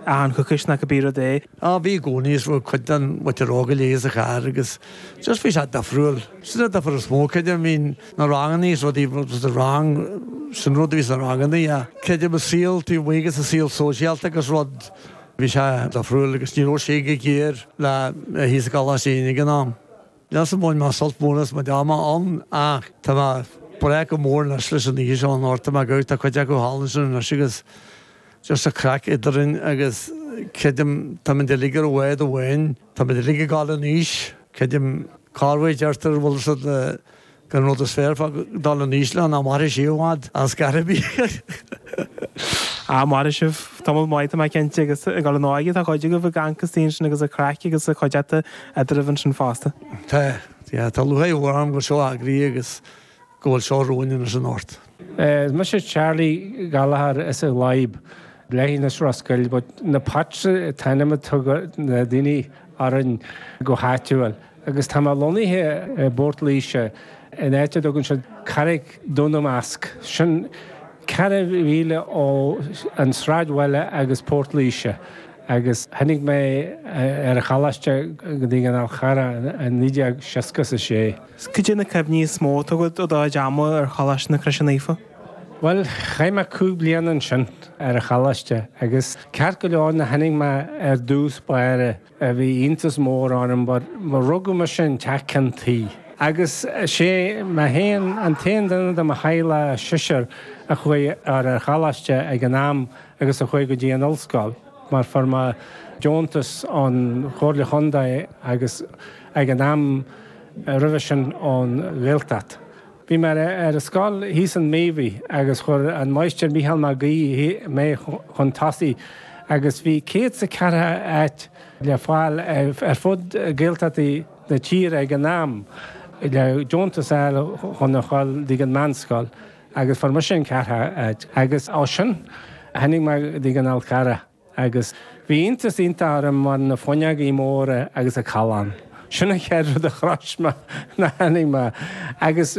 Achan choicís nó cibé rud é. Á, bhí i gcónaí is raibh cuid den mhuintir óg uilig sa charr agus just bhí sé difriúil. Sin an difear is mó, creidim, bhí na rangannaí is rudaí sa rang, sin rud a bhí sna rangannaí ach creidim an saol taobh amuigh agus an saol sóisialta agus rud, bhí sé difriúil agus ní raibh sé chomh géar le thíos i gColáiste Éinne ag an am. Níl bhain mé sult mór as mo chuid ama ann ach tá mé breá go mór anois leis an oíche seo anocht, tá mé ag tá cuid acu thall ansin anois agus just an craic eadrainn agus creidim táimid uilig ar bhád amháin, táimid uilig ag dul in aois, creidim corruair deirtear bhfuil siad le An rud is fearr fá dul in aois ná nach mairfidh sé i bhfad as scor ar bith. Ah, mairfidh sibh tamall maith, tá mé cinnte, agus ag dul in óige tá cuid agaibh ag amharc istigh ansin agus ag craic agus ag cuideachta eadraibh ansin fosta. Tá, yeah, tá lúcháir mhór orm go bhfuil seo eagraithe agus go bhfuil seo romhainn anois anocht. Is mise Charlie Gallagher as an Ghlaib, leithinis Ros Goill, but na Pats an t-ainm a tugadh na daoine orainn go háitiúil. Agus tá mé lonnaithe i bPort Laoise, in áit a dtugann siad Carraig Dún na Masc. Sin 4 mhíle ó an sráidbhaile agus Port Laoise. Agus tháinig mé ar an choláiste go dtí an Fhál Carrach i 1966. Cad é na cuimhní is mó atá agat ó do chuid ama ar Choláiste na Croise Naofa? Bhuel, chaith mé 5 bliana ansin ar an choláiste agus ceart go leor nuair a tháinig mé ar dtús báire, Bhí iontas mór orm mar rugadh mise in teach ceann tuí. Agus sé mé féin an t-aon duine de mo theaghlach sisir a chuaigh ar an choláiste ag an am agus a chuaigh go dtí an ollscoil mar fuair mé deontas ón Chomhairle Chontae agus ag an am roimhe sin ón Ghaeltacht. Bhí mé ar an scoil thíos in Mobhí agus chuir an Máistir Mícheál Mac Aoidh mé chun tosaigh agus bhí 104 áit le fáil ar fud Gaeltachtaí na tíre ag an am le deontas a fháil chun a dhul dtí an meánscoil agus fuair mise an ceathrú áit agus ó sin tháinig mé go dtí an Fhál Carrach. Agus bhí iontas iontach orm mar na fuinneogaí móra agus an callán. Sin an chéad rud a shrois mé nuair a tháinig mé. Agus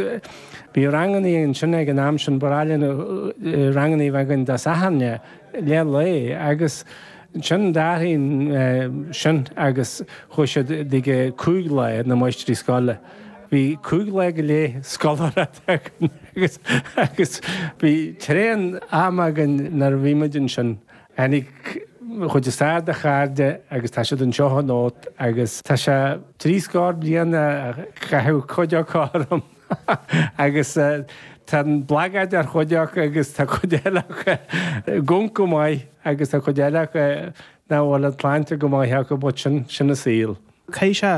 bhí rangannaí ansin ag an am sin, ba ghnách linn rangannaí a bheith againn Dé Sathairn leath lae agus ansin d'athraigh sin agus chuaigh siad dtí 5 lá na máistrí scoile. Bhí 5 lá go leith scoláireacht againn agus agus bhí tréan ama againn nuair a bhí muid ansin. Tháinig chuid is fearr de chairde agus tá siad anseo anocht agus tá sé trí scór bliain a caitheadh cuid acu orm agus tá an blagad ar chuid acu agus tá cuid eile acu gonc go maith agus tá cuid eile acu nach bhfuil an tsláinte go maith acu but sin, sin an saol. Caithfidh sé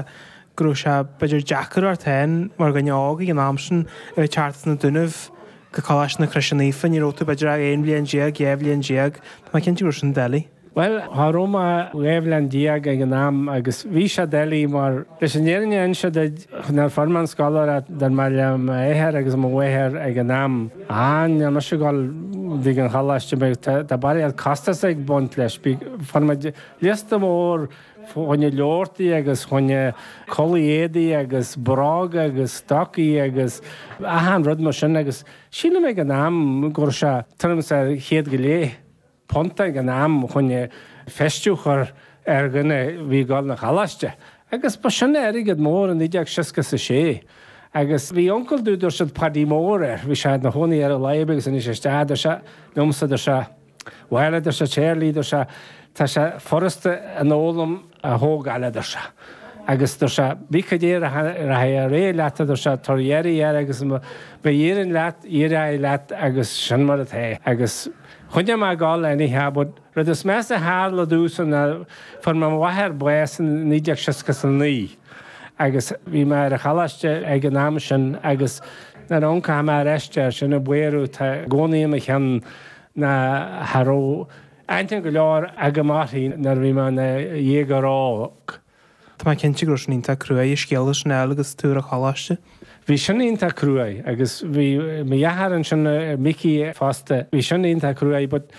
go raibh sé b'fhéidir deacair ort féin mar dhuine óg ag an am sin a bheith ag teacht as na Dúnaibh go Coláiste na Croise Naofa, ní raibh tú b'fhéidir ach 11 bhliain, 12 bhliain. Tá mé cinnte go raibh sin doiligh. Bhuel, cha raibh mé 12 bhliain ag an am agus bhí sé doiligh mar leis an fhírinne a inse duit, nuair a fuair mé an scoláireacht, dúirt mé le m'athair agus mo mháthair ag an am, ah, níl mise ag dul dtí an choláiste, tá barraíocht costas ag baint leis. Fuair muid liosta mór Fá choinne leabhartaí agus choinne culaith éadaí agus bróga agus stocaí agus achan rud mar sin agus sílim ag an am go raibh sé tuairim is ar chéad go leith punt ag an am choinne feistiú a chur ar dhuine a bhí ag dul 'na choláiste agus ba sin airgead mór i 1966 agus bhí uncail domh dúirt siad Paddy Mór air, bhí sé ina chónaí ar an Laidhb agus tháinig sé isteach dúirt sé liomsa dúirt sé Bhuel, a deir sé, Charlie, deir sé, tá sé furasta an fhoghlaim a thógáil, a deir sé. Agus deir sé, bí cad é a rachaidh ar aghaidh leat, a deir sé, tabhair iarraidh air agus má éiríonn leat, éireoidh leat agus sin mar atá. Agus choinnigh mé ag dul anyhow, but rud is measa a tharla domhsa ná fuair mo mháthair bás in 1969 agus bhí mé ar an choláiste ag an am sin agus nuair a amharcann mé ar ais air sin an buaireamh atá i gcónaí i mo cheann ná cha raibh aithne go leor agam uirthi nuair a bhí mé ina dhéagóir óg. Tá mé cinnte go raibh sin iontach cruaidh, an scéala sin a fháil agus tú ar an choláiste. Bhí sin iontach cruaidh agus bhí mo dheartháir ansin, Micí, fosta, bhí sin iontach cruaidh but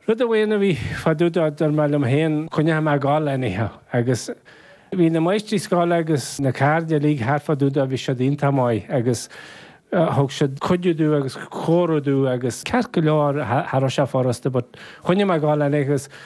rud amháin a bhí fá dtaobh de, dúirt mé liom féin, coinneoidh mé ag dul anyhow agus bhí na máistrí scoile agus na cairde uilig thart fá dtaobh de, bhí siad iontach maith agus Thug siad cuidiú domh agus comhairle domh agus ceart go leor cha raibh sé furasta but choinnigh mé ag dul anyhow agus.